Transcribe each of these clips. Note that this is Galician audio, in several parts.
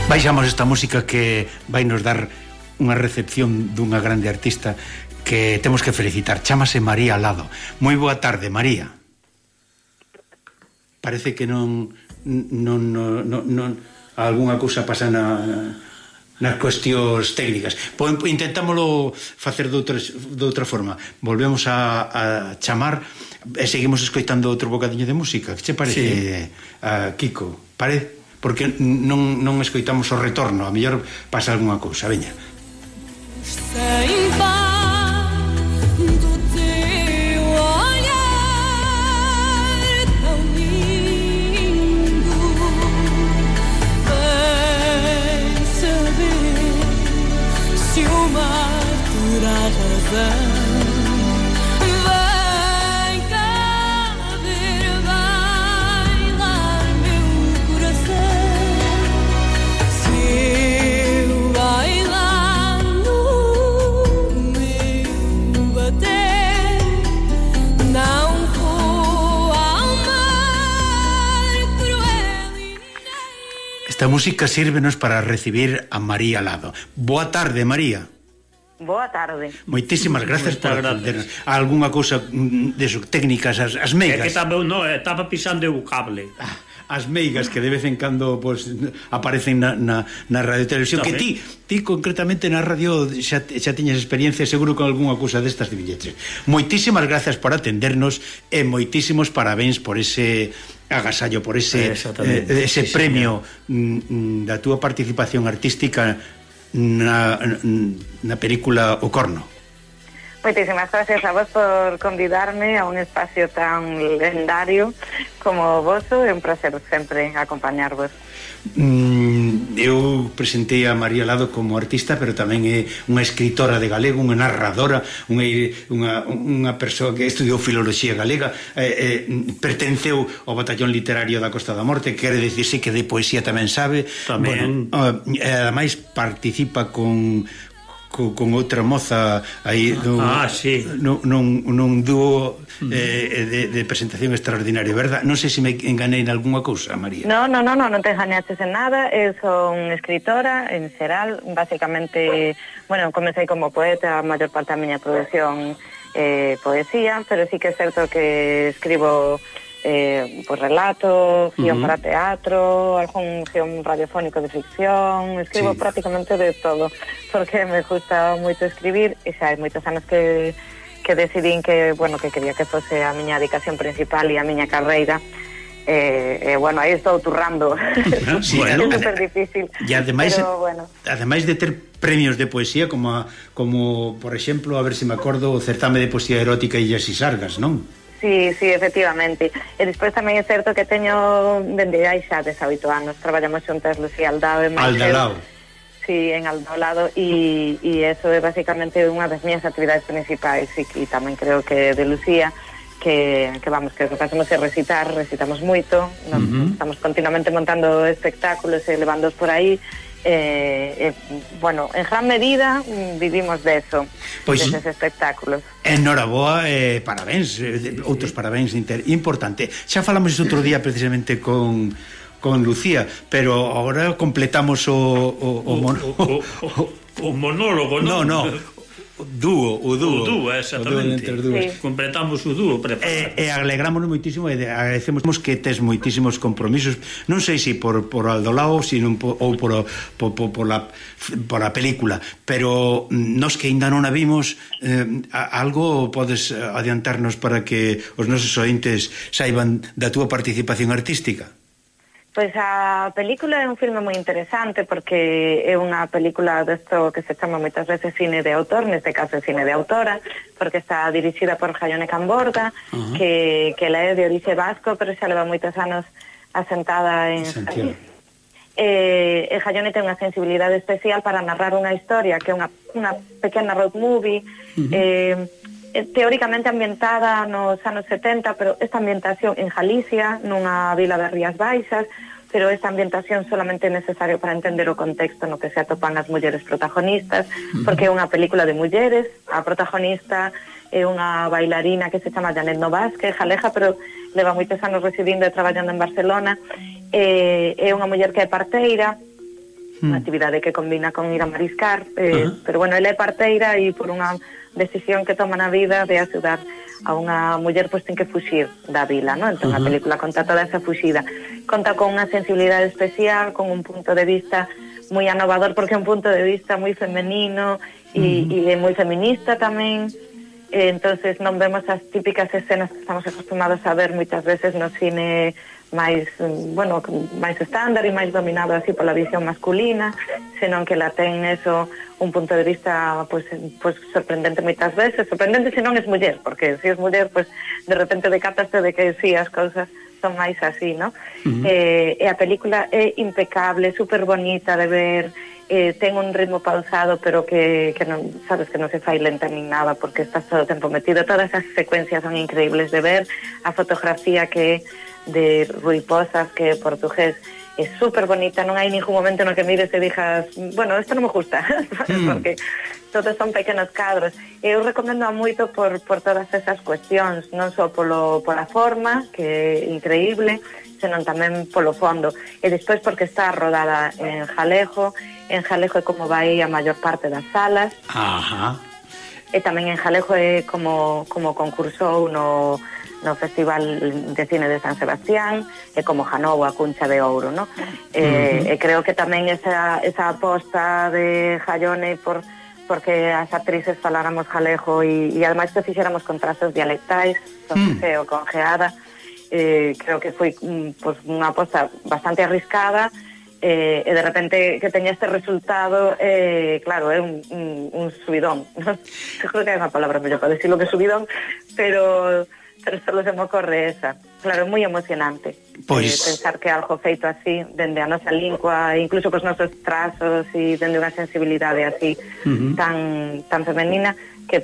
Baixamos esta música que vai nos dar unha recepción dunha grande artista que temos que felicitar. Chámase María Lado. Moi boa tarde, María. Parece que non algunha cousa pasa nas cuestións técnicas. Intentámoslo facer de outra forma. Volvemos a chamar e seguimos escoitando outro bocadiño de música. Que che parece, Kiko? Parece? Porque non escoitamos o retorno. A mellor pasa algunha cousa. Veña. Esta música sírvenos para recibir a María Lado. Boa tarde, María. Boa tarde. Moitísimas gracias por atendernos. Alguna cousa técnicas, as meigas. É que estaba pisando o cable. As meigas que de vez en cando aparecen na radio televisión. Que ti concretamente na radio xa tiñas experiencia seguro con algunha cousa destas de billetes. Moitísimas gracias por atendernos e moitísimos parabéns por ese agasallo, por ese premio da túa participación artística na película O Corno. Moitísimas gracias a vos por convidarme a un espacio tan lendario como o voso. É un placer sempre acompañarvos. Eu presentei a María Lado como artista, pero tamén é unha escritora de galego, unha narradora, unha persoa que estudiou filoloxía galega, pertenceu ao batallón literario da Costa da Morte, quere dicirse que de poesía tamén sabe. Tamén. Ademais participa con outra moza aí nun dúo de presentación extraordinario, verdad? Non sei se me enganei en algunha cousa, María. Non te engañaches en nada. Eu son escritora en xeral, basicamente, comecei como poeta, a maior parte da miña produción poesía, pero sí que é certo que escribo relato, guión para teatro, algún guión radiofónico de ficción, escribo prácticamente de todo, porque me gusta moito escribir, e xa hai moitos anos que decidín que quería que fose a miña dedicación principal e a miña carreira. Aí estou turrando. É super difícil. E ademais de ter premios de poesía como por exemplo, a ver se me acordo, o certame de poesía erótica Illas e Sargas, non? Sí, efectivamente. E despois tamén é certo que teño dende hai xa 18 anos traballamos xuntas Lucía Aldao e Aldalao. Sí, en Aldalado, e eso é basicamente unha das miñas actividades principais, e tamén creo que de Lucía que o que facemos é recitamos moito, estamos continuamente montando espectáculos e levándoos por aí. En gran medida vivimos deso, deses espectáculos. Enhoraboa, parabéns, outros parabéns importante. Xa falamos outro día precisamente con Lucía, pero agora completamos o monólogo, non? O dúo, exactamente. Completamos o dúo. E alegrámonos moitísimo e agradecemos que tes moitísimos compromisos, non sei se por Aldolao ou por a película, pero nos que ainda non a vimos, algo podes adiantarnos para que os nosos ointes saiban da túa participación artística? Pois a película é un filme moi interesante porque é unha película desto que se chama moitas veces cine de autor, neste caso é cine de autora, porque está dirixida por Jaione Camborda, que ela é de orixe vasco, pero xa leva moitos anos asentada en Santiago. E Jaione ten unha sensibilidade especial para narrar unha historia que é unha pequena road movie, teóricamente ambientada nos anos 70, pero esta ambientación en Galicia, nunha vila das Rías Baixas, pero esta ambientación solamente é necesario para entender o contexto no que se atopan as mulleres protagonistas, porque é unha película de mulleres, a protagonista é unha bailarina que se chama Janet Novas, que é jaleja, pero leva moitos anos residindo e traballando en Barcelona, é unha muller que é parteira, unha actividade que combina con ir a mariscar, pero bueno, ela é parteira e por unha decisión que toma na vida de axudar a unha muller, pois ten que fuxir da vila, non? Entón a película conta toda esa fuxida, conta con unha sensibilidade especial, con un punto de vista moi anovador, porque é un punto de vista moi femenino e moi feminista tamén. Entonces non vemos as típicas escenas que estamos acostumados a ver moitas veces no cine máis, bueno, máis estándar e máis dominado así pola visión masculina, senón que la ten eso un punto de vista pues sorprendente moitas veces, sorprendente se non es muller, porque se es muller, pues de repente decataste de que sí, as cousas son máis así, ¿no? E a película é impecable, super bonita de ver, ten un ritmo pausado, pero que non, sabes, que non se fai lenta nin nada, porque estás todo o tempo metido. Todas as secuencias son increíbles de ver, a fotografía que é de Rui Pozas, que é portugués, é super bonita, non hai ningún momento no que mires e dixas, bueno, isto non me gusta, porque todos son pequenos cadros. Eu recomendo moito por todas esas cuestións, non só pola forma, que é increíble, senón tamén polo fondo. E despois porque está rodada en Jalejo é como vai a maior parte das salas. E tamén en Jalejo é como concursou no Festival de Cine de San Sebastián, e como ganou a Cuncha de Ouro, ¿no? E creo que tamén esa aposta de Jallone porque as actrices faláramos galego e ademais que fixéramos con trazos dialectais, con G ou con Geada, creo que foi pues, unha aposta bastante arriscada, e de repente que teña este resultado, claro, é un subidón, ¿no? Creo que hai unha palabra mellor para decirlo que subidón, pero solo se me ocorre esa. Claro, é moi emocionante pensar que algo feito así, dende a nosa lingua, incluso cos nosos trazos e dende unha sensibilidade así tan femenina, que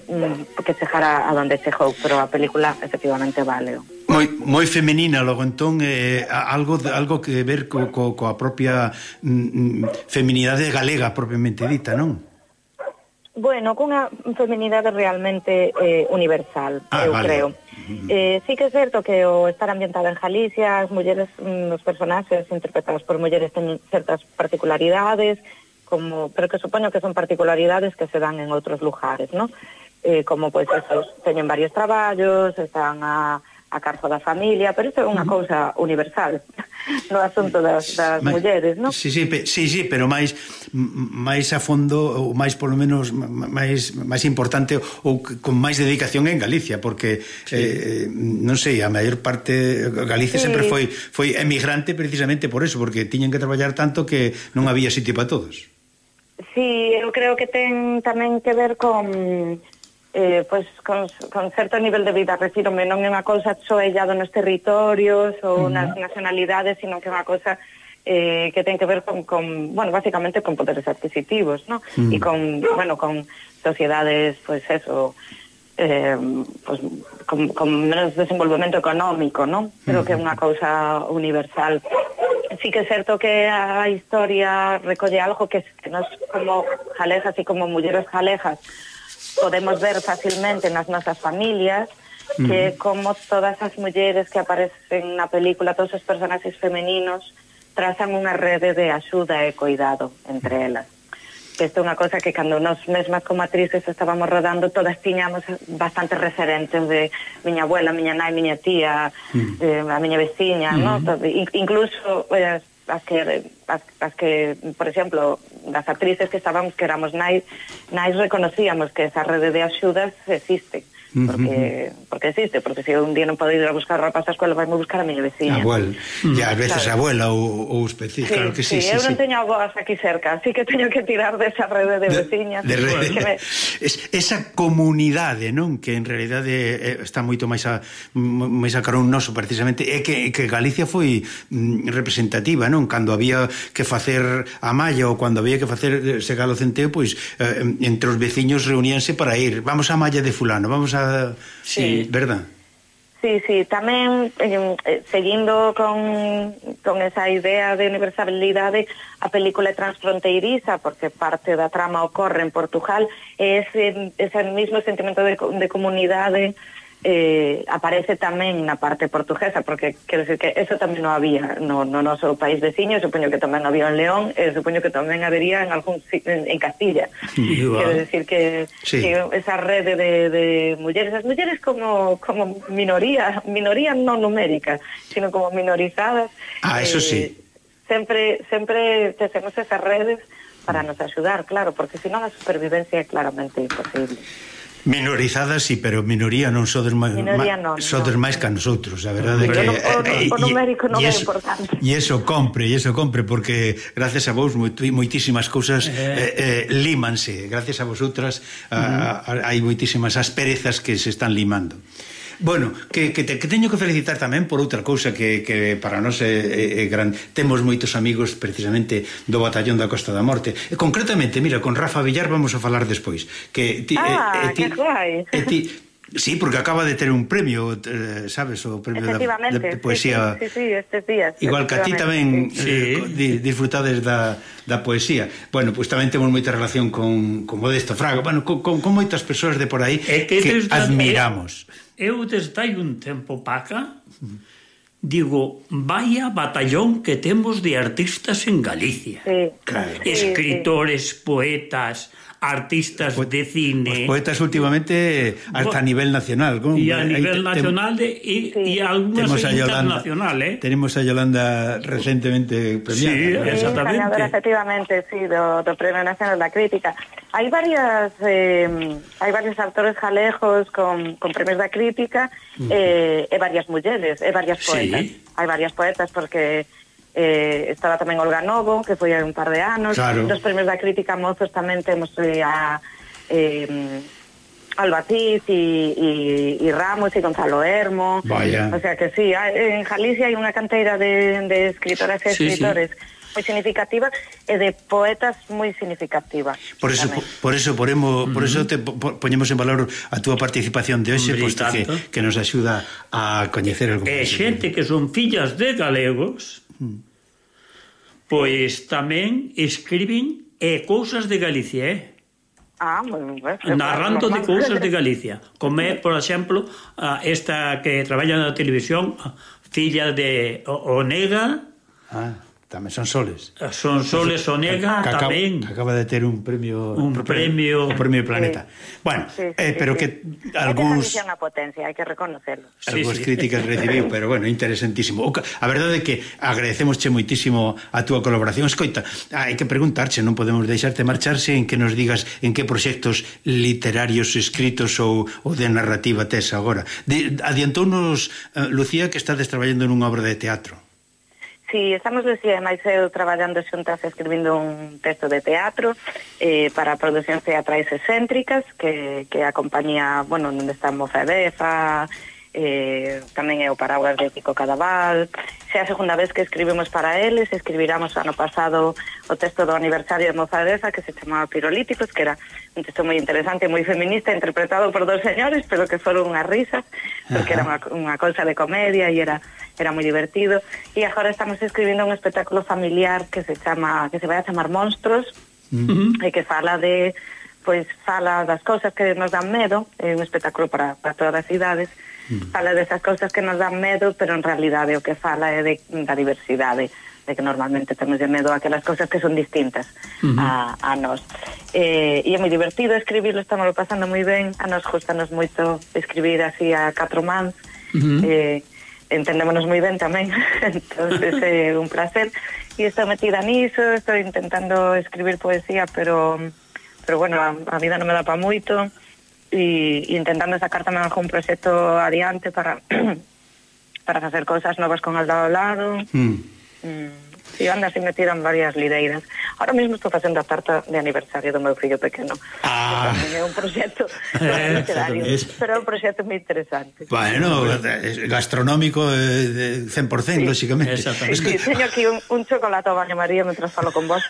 chegara a donde chegou, pero a película efectivamente vale. Moi femenina, logo entón algo que ver coa propia feminidade galega propiamente dita, non? Bueno, cunha feminidade realmente universal, eu creo. Sí que é certo que o estar ambientada en Galicia, as mulleres, os personaxes interpretados por mulleres ten certas particularidades, pero que supoño que son particularidades que se dan en outros lugares, ¿no? Como, pois, esos teñen varios traballos, están a cargo da familia, pero isto é unha cousa universal no asunto das mulleres, non? Sí, pero máis a fondo, ou máis polo menos máis importante, ou con máis dedicación en Galicia, porque non sei, a maior parte Galicia sempre foi emigrante precisamente por eso, porque tiñen que traballar tanto que non había sitio para todos. Sí, eu creo que ten tamén que ver con certo nivel de vida, refírome, non é unha cousa soellado nos territorios ou nas nacionalidades, sino que é unha cousa que ten que ver con bueno, básicamente con poderes adquisitivos, ¿no? E con sociedades, pues eso, con menos desenvolvemento económico, ¿no? Pero que é unha cousa universal. Sí que é certo que a historia recolle algo que nos, como jalejas e como mulleres jalejas, podemos ver facilmente nas nosas familias, que como todas as mulleres que aparecen na película, todos os personaxes femeninos, trazan unha rede de axuda e cuidado entre elas. Isto é unha cosa que cando nos mesmas como actrices estábamos rodando, todas tiñamos bastantes referentes de miña abuela, miña nai, miña tía, a miña veciña, ¿no? Incluso as que, por exemplo, das actrices que estábamos, que éramos nais reconocíamos que esa rede de axudas existe, porque existe, porque se un día non podo ir a buscar roupa á escola, vai-me buscar a miña veciña. Abuela, e ás veces abuela ou específico, claro que sí. Eu non teño avós aquí cerca, así que teño que tirar desa rede de veciñas. Esa comunidade, non? Que en realidade está moito máis a carón noso, precisamente, é que Galicia foi representativa, non? Cando había que facer a malla ou cando había que facer segalo centeo, pois entre os veciños reuníanse para ir, vamos á malla de fulano, vamos a... Sí, verdad? Sí, tamén seguindo con esa idea de universalidade, a película é transfronteiriza porque parte da trama ocorre en Portugal, e ese mismo sentimento de comunidade aparece tamén na parte portuguesa, porque quero decir que eso tamén non había no noso país veciño, supoño que tamén había en León, e supoño que tamén habería en algún en Castilla. Quero decir que esa rede de mulleres, as mulleres como minoría non numérica, sino como minorizadas. Eso sí. Sempre temos esas redes para nos axudar, claro, porque senón a supervivencia é claramente imposible. Minorizadas, sí, pero minoría non sodes máis que a nosotros, a verdade que o numérico non é importante. E iso compre, porque gracias a vos moitísimas cousas límanse, gracias a vosotras hai moitísimas asperezas que se están limando. Bueno, que teño que felicitar tamén por outra cousa que para nós é gran. Temos moitos amigos precisamente do Batallón da Costa da Morte. Concretamente, mira, con Rafa Villar vamos a falar despois. Que guai. Sí, porque acaba de ter un premio, sabes, o premio de poesía. Sí, estes días. Igual que a ti tamén disfrutades da poesía. Bueno, pois tamén temos moita relación con Modesto Fraga, bueno, con moitas persoas de por aí que admiramos. Eu desde hai un tempo paca digo, vaya batallón que temos de artistas en Galicia. Escritores, poetas, artistas de cine. Os poetas últimamente hasta a nivel nacional. E a nivel nacional e algunhas internacional, Tenemos a Yolanda recentemente premiada. Sí, exactamente. Ganadora, efectivamente, sí, do Premio Nacional da Crítica. Hai varios autores galegos con premios da crítica e varias mulleres, e varias poetas. Hai varias poetas porque estaba tamén Olga Novo, que foi hai un par de anos. Dos premios da crítica mozos tamén temos a Albatiz e Ramos e Gonzalo Hermo. O sea que sí, en Galicia hai unha canteira de escritoras e escritores moi significativa e de poetas moi significativa. Por eso poñemos en valor a túa participación de hoxe, posto que nos axuda a coñecer algo. E xente que son fillas de galegos, pois tamén escriben cousas de Galicia, narrando de cousas de Galicia, como é, por exemplo, esta que traballa na televisión, filla de Onega. Tamén son Soles. Son Soles Onega tamén. Acaba de ter un premio. O premio Planeta. Bueno, pero que algúns... É unha potencia, hai que reconocerlo. Algúns críticas recibiu, pero bueno, interesantísimo. A verdade é que agradecemosche moitísimo a túa colaboración. Escoita, hai que preguntarche, non podemos deixarte marcharse en que nos digas en que proxectos literarios escritos ou de narrativa tes agora. Adiantounos, Lucía, que estades traballando nunha obra de teatro. Sí, estamos Lucía e máis eu traballando xuntas escribindo un texto de teatro para producións teatrais excéntricas que a compañía, bueno, onde está Mofedefa, tamén é o Paraguas de Kiko Cadaval. Xa a segunda vez que escribimos para eles, escribiramos ano pasado o texto do aniversario de Mofedefa que se chamaba Pirolíticos, que era un texto moi interesante, moi feminista, interpretado por dos señores, pero que foron unhas risas, porque era unha cousa de comedia e era moi divertido. E agora estamos escribindo un espectáculo familiar que se vai a chamar Monstros, e que fala das cousas que nos dan medo, é un espectáculo para todas as idades. Fala desas cousas que nos dan medo, pero en realidade o que fala é da diversidade, de que normalmente temos de medo a aquelas cousas que son distintas a nós. E é moi divertido escribirlo, estamos pasando moi ben, a nos gustanos moito escribir así a 4 mans, entendémonos moi ben tamén, entonces é un placer, e estou metida niso, estou intentando escribir poesía, pero bueno, a vida non me dá pa moito, e intentando sacar tamén algún proxecto adiante para facer cousas novas con Aldo ao lado. E ando así metida en varias lideiras. Ahora mesmo estou facendo a tarta de aniversario do meu fillo pequeno. É un proxecto literario, pero é un proxecto moi interesante. Bueno, gastronómico de 100%, lóxicamente. Sí, teño aquí un chocolate ao baño María mentre falo con vos,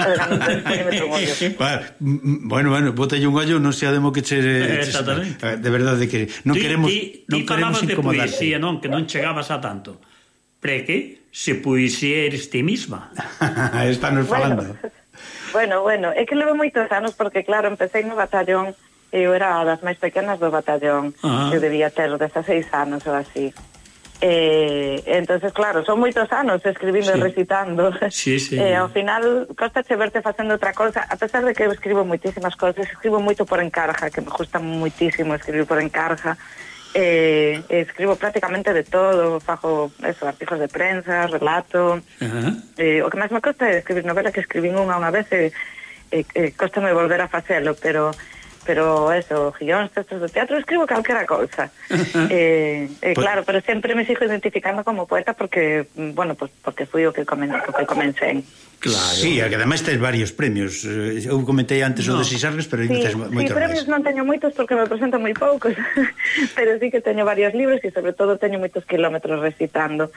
Bueno, bótalle un ollo, non sea demo que che... De verdade que non queremos incomodarte. Ti non, que non chegabas a tanto. Preque se poesía eres ti misma. Estanos falando. Bueno, é que levo moitos anos porque claro, empecé no batallón Eu era das máis pequenas do batallón. Eu debía ter 16 anos ou así. Entonces, claro, son moitos anos escribindo e recitando. Ao final, costache verte facendo outra cosa, a pesar de que eu escribo moitísimas cosas, escribo moito por encarga, que me gusta moitísimo escribir por encarga. Escribo prácticamente de todo, fago eso, artigos de prensa, relato. O que máis me costa é escribir novela, que escribín unha vez e costame volver a facelo, pero eso, guións, textos de teatro, escribo calquera cousa. Claro, pero sempre me sigo identificando como poeta porque, bueno, pues porque fui o que comencé. Claro. Sí, que ademais tes varios premios. Eu comentei antes o de Sisargas, pero tes moitos máis. Sí, premios non teño moitos porque me presento moi poucos, pero sí que teño varios libros e sobre todo teño moitos kilómetros recitando,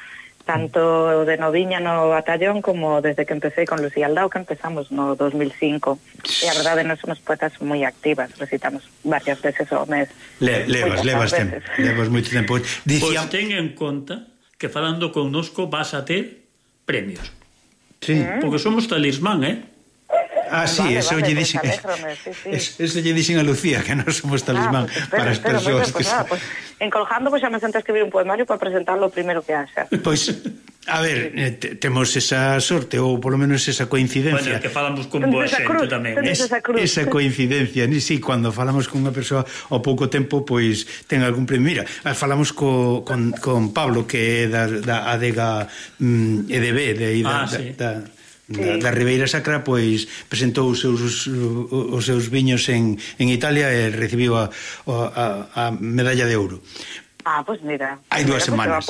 tanto de noviña no batallón como desde que empecé con Lucía Aldao, que empezamos no 2005. E a verdade, nós somos poetas moi activas, recitamos varias veces ao mes. Levas moito tempo. Pois ten en conta que falando connosco vas a ter premios. Sí. Porque somos talismán, sí, eso lle dixen. Eso lle dixen a Lucía, que non somos talismán para as persoas. Encolgando, xa me sento a escribir un poemario para presentarlo o primeiro que haxa. Pois, a ver, temos esa sorte, ou polo menos esa coincidencia. Bueno, que falamos con boa xente tamén. Esa coincidencia, sí, cando falamos con unha persoa ao pouco tempo, pois ten algún premio. Mira, falamos con Pablo, que é da adega EDB, da Ribeira Sacra, pois presentou os seus viños en Italia e recibiu a medalla de ouro. Pois mira, hai 2 semanas.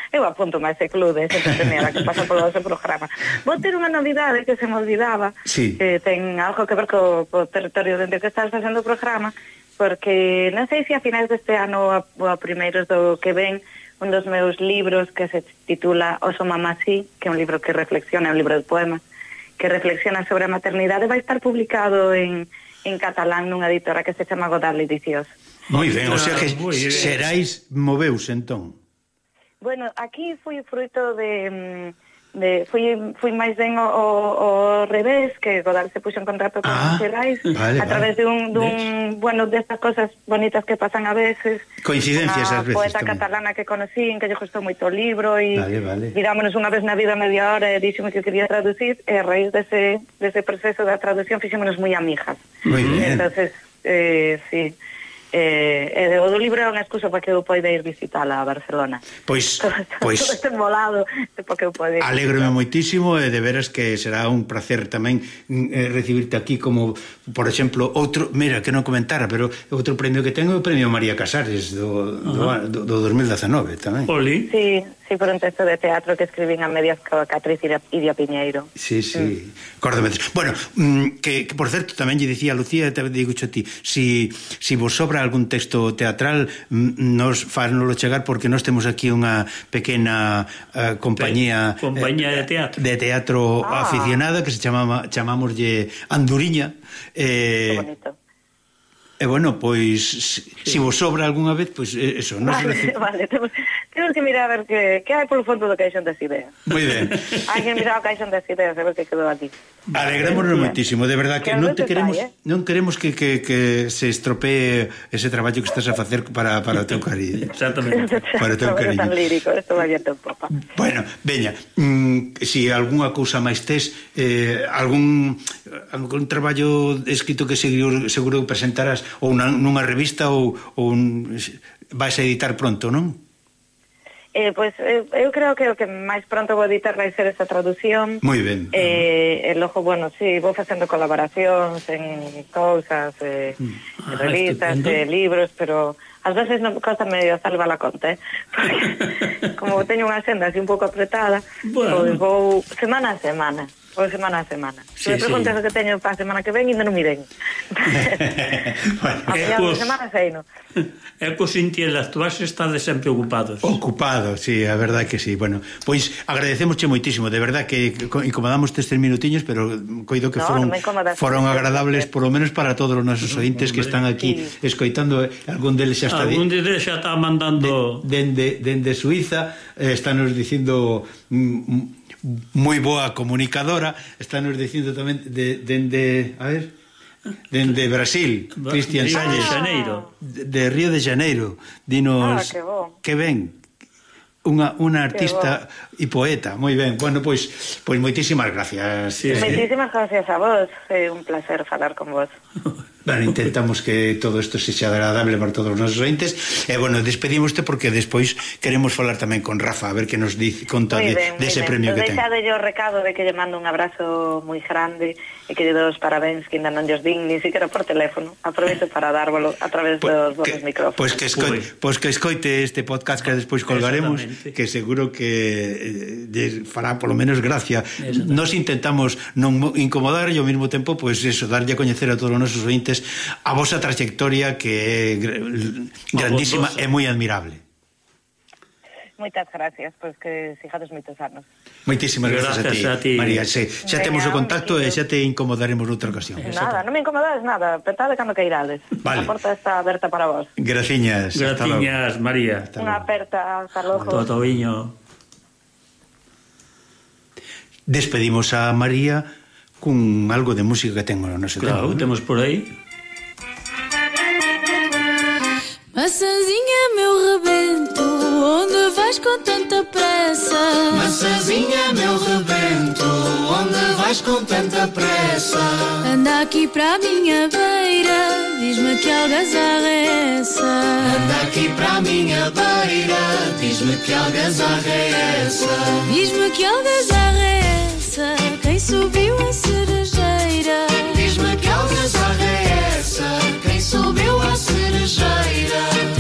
Eu apunto a ese club de ese primeira que pasa polo ese programa. Vou ter unha novidade que se me olvidaba, que ten algo que ver co territorio dentro que estás facendo o programa, porque non sei se a finais deste ano ou a primeiros do que ven, un dos meus libros que se titula Oso mamá sí, que é un libro que reflexiona, un libro de poemas, que reflexiona sobre a maternidade, vai estar publicado en catalán nunha editora que se chama Godard Edicións. Moi ben, o sea que Xerais moveus entón. Bueno, aquí foi fruito fui máis ben o revés, que Godard se puxo en contacto con Xerais a través bueno, destas cosas bonitas que pasan a veces. Coincidencias ás veces. Unha poeta catalana que conocín, que lle gustou moito o libro e mirámonos unha vez na vida media hora e díxome que quería traducir e a raíz dese proceso da traducción fixémonos moi amigas. Moi ben. Entonces, sí. O do libro é unha excusa para que eu poida ir visitala a Barcelona. Pois todo este molado para que eu poida ir. Alégrome moitísimo e de veras que será un placer tamén recibirte aquí como, por exemplo, outro, mira, que non comentara, pero outro premio que tengo é o premio María Casares do 2019 tamén. Oli. Sí, por un texto de teatro que escribín a medias coa Catriz Idia Piñeiro. Sí. Córdome. Bueno, que por certo tamén lle dicía a Lucía, te digo a ti, si vos sobra algún texto teatral, nos fánoslo chegar, porque nós temos aquí unha pequena compañía de teatro aficionada que se chamámoslle Anduriña. Que bonito. E bueno, pois se vos sobra algunha vez, pois eso, non se Vale, temos que mirar a ver que hai polo fondo do caixón das ideas. Moi ben. Hai que mirar o caixón das ideas a ver que quedou aquí. Alegrémonos moitísimo, de verdad que non queremos que se estropee ese traballo que estás a facer para o teu cariño. Exactamente. Para o teu cariño. Tan lírico, isto vai a teu popa. Bueno, veña, se algunha cousa máis tes, algún traballo escrito que seguro presentarás ou nunha revista ou vais a editar pronto, non? Pois eu creo que o que máis pronto vou editar vai ser esa traducción. Moi ben. E logo, bueno, sí, vou facendo colaboracións en cousas, revistas, libros, libros, pero ás veces non costa medio salvar a conta, porque como teño unha senda así un pouco apretada, pois vou semana a semana. Se me preguntas o que teño para a semana que ven, ainda non mirei. A final de semana sei, non? É cos intelectuais estades sempre ocupados. Ocupados, sí, a verdade que sí. Bueno, pois agradecemosche moitísimo, de verdade que incomodamos estes minutiños, pero coido que foron agradables, por lo menos para todos os nosos ointes que están aquí escoitando. Algún deles xa está mandando dende Suiza, estános dicindo moi boa comunicadora, estános dicindo tamén dende, a ver, Dende Brasil, Cristian Salles. De Río de Janeiro. Dinos que ben. Unha artista e poeta, moi ben. Bueno, pois moitísimas gracias. Moitísimas gracias a vos, é un placer falar con vos. Bueno, intentamos que todo isto sexa agradable para todos os nosos ointes. E, bueno, despedimoste porque despois queremos falar tamén con Rafa, a ver que nos conta dese premio que ten. Deixade yo o recado de que lle mando un abrazo moi grande e que lle dou os parabéns que ainda non lles din ni siquiera por teléfono. Aproveito para dárvolo a través dos vosos micrófonos. Pois que escoite este podcast que despois colgaremos, que seguro que fará polo menos gracia. Nos intentamos non incomodar e ao mesmo tempo, pois eso, darlle a coñecer a todos os nosos ointes a vosa trayectoria que é grandísima e moi admirable. Moitas gracias, pois que sigades moitos anos. Moitísimas gracias a ti, María. Xa temos o contacto e xa te incomodaremos noutra ocasión. Nada, non me incomodades nada, petade cando queirades. A porta está aberta para vos. Graciñas. Graciñas, María. Unha aperta, hasta logo. Todo viño. Despedimos a María cun algo de música que tengo no noso tempo. Claro, temos por aí. Maçãzinha, meu rebento, onde vais com tanta pressa? Maçãzinha, meu rebento, onde vais com tanta pressa? Anda aqui para a minha beira, diz-me que algazarra é essa? Anda aqui para a minha beira, diz-me que algazarra é essa? Diz-me que algazarra é essa? Quem subiu a cerejeira? Diz-me que algazarra é essa? Quem subiu a cerejeira?